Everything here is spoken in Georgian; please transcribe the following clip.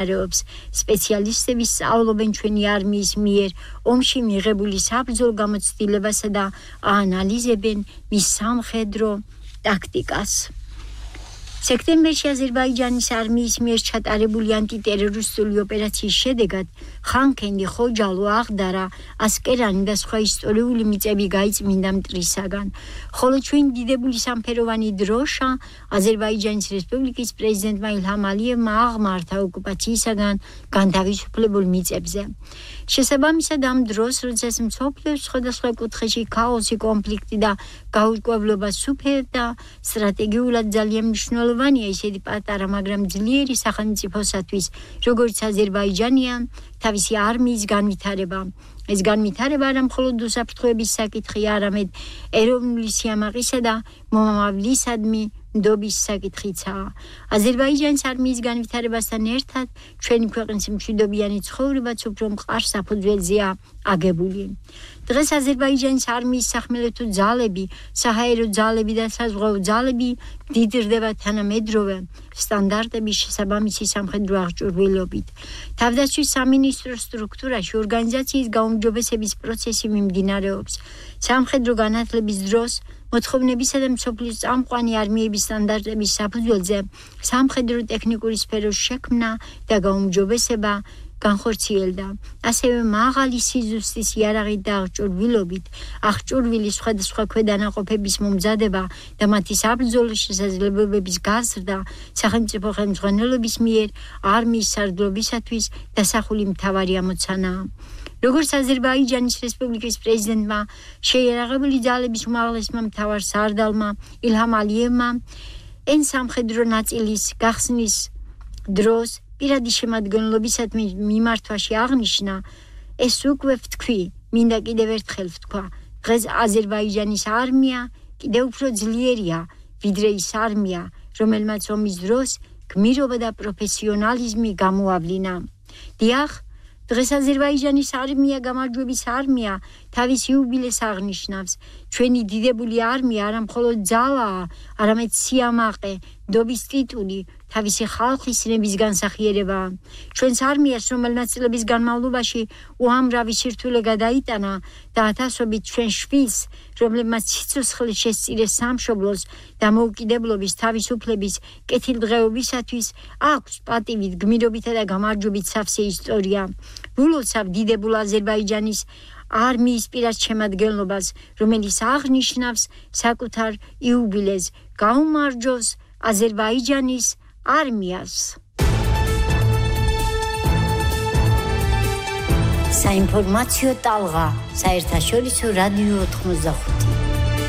მიმდინარეობს. სპეციალისტები სწავლობენ ჩვენი არმიის მიერ ომში მიღებული საბრძოლო გამოცდილებასა და აანალიზებენ მის სამხედრო ტაქტიკას. სექტემბერში აზერბაიჯანის არმიის მიერ ჩატარებული ანტიტერორისტული ოპერაციის შედეგად ხანქენდი, ხოჯალო, აღდარა, ასკერანი და სხვა ისტორიული მიწები გაიწმინდა მტრისაგან. ხოლო ჩვენი დიდებული სამფეროვანი დროშა აზერბაიჯანის რესპუბლიკის პრეზიდენტმა ილჰამ ალიევმა აღმართა ოკუპაციისაგან განთავისუფლებულ მიწებზე. შესაბამისად ამ დროს, როდესაც მსოფლიოს სხვადასხვა კუთხეში ქაოსი, კონფლიქტი და გაურკვევლობა სუფევდა, სტრატეგიულად ძალიან მნიშვნელოვანია ისეთი პატარა, მაგრამ ძლიერი სახელმწიფოსათვის, როგორც აზერბაიჯანია, თავისი არმიის განვითარება. ეს განვითარება არა მხოლოდ უსაფრთხოების საკითხია, არამედ ეროვნული სიამაყისა და მომავლისადმი ნდობის საკითხიცაა. აზერბაიჯანის არმიის განვითარებასთან ერთად ჩვენი ქვეყნის მშვიდობიანი ცხოვრებაც უფრო მყარ საფუძველზეა აგებული. დღეს აზერბაიჯანის არმიის სახმელეთო ძალები, საჰაერო ძალები და საზღვაო ძალები დიდრდება თანამედროვე სტანდარტების შესაბამისი სამხედრო აღჭურვილობით. თავდაცვის სამინისტროს სტრუქტურაში ორგანიზაციის გაუმჯობესების პროცესი მიმდინარეობს. სამხედრო განათლების დროს მოთხოვნებისა და მსოფლიოს წამყვანი არმიების სტანდარტების საფუძველზე სამხედრო ტექნიკური სფეროს შექმნა და გაუმჯობესება განხორციელდა. ასევე მაღალი სიზუსტის იარაღით და აღჭურვილი სხვადასხვა ქვედანაყოფების მომზადება და მათი საბრძოლო შესაძლებლობების გაზრდა სახელმწიფო ხელმძღვანელობის მიერ არმიის სარდლობისათვის დასახული მთავარი ამოცანაა. როგორც აზერბაიჯანის რესპუბლიკის პრეზიდენტმა, შეიარაღებული ძალების უმაღლესმა მთავარ სარდალმა ილჰამ ალიევმა ეს სამხედრო ნაწილის გახსნის დროს პირადი შემადგენლობისადმი მიმართვაში აღნიშნა, ეს უკვე ვთქვი, მინდა კიდევ ერთხელ ვთქვა, დღეს აზერბაიჯანის არმია კიდევ უფრო ძლიერია, ვიდრე ის არმია, რომელმაც ომის დროს გმირობა და პროფესიონალიზმი გამოავლინა. დიახ, დღეს აზერბაიჯანის არმია გამარჯვების არმია თავის იუბილეს აღნიშნავს. ჩვენი დიდებული არმია არა მხოლოდ ძალაა, არამედ სიამაყე, ნდობის ტიტული, თავისი ხალხის ნების განსახიერებაა. ჩვენს არმიას, რომელმაც წლების განმავლობაში უამრავი სირთულე გადაიტანა და ათასობით ჩვენ შვილს, რომლებმაც სიცოცხლე შესწირეს სამშობლოს და მოუკიდებლობის, თავისუფლების, კეთილდღეობისათვის, აქვს პატივით, გმირობითა და გამარჯვებით სავსე ისტორია. ვილოცავ დიდებულ აზერბაიჯანის არმიის პირად შემადგენლობას, რომელიც აღნიშნავს საკუთარ იუბილეს, გაუმარჯოს აზერბაიჯანის არმიას. საინფორმაციო ტალღა, საერთაშორისო რადიო 85.